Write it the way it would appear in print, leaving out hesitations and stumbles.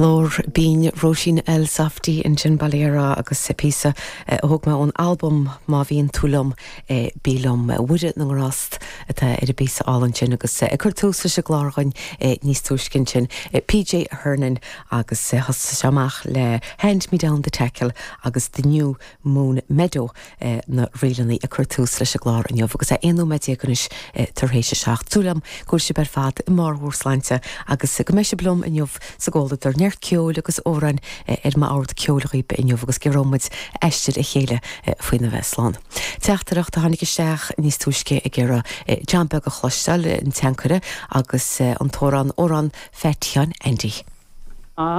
Glór binn Róisín Elsafty ansin, bail ó Dhia uirthi, agus píosa a thóg mé ón albam Má Bhíonn Tú Liom, Bí Liom. Mhuire na nGrást atá ar an bpíosa álainn sin agus ag cur tús leis an gclár dhúinn níos túisce ansin, PJ Hernon agus thosaigh sé amach le Hand Me Down the Tackle agus The New Moon Meadow. na ríleanna ag cur tús leis an gclár inniu agus é 11 nóiméad anois tar éis a 7. Súil agam go bhfuil sibh ar fad i mbarr bhur sláinte agus go mbeidh sibh liom inniu sa gcomhluadar. Neart ceoil agus amhráin ar m'ord ceoil dhaoibh inniu agus gearróidh muid aistear a chéile faoina bheith slán. Teachtaireacht a tháinig isteach níos túisce ag iarraidh John Beag a chloisteáil, an tSeanchaire, agus an t-amhrán Amhrán Pheait Sheáin Aindí.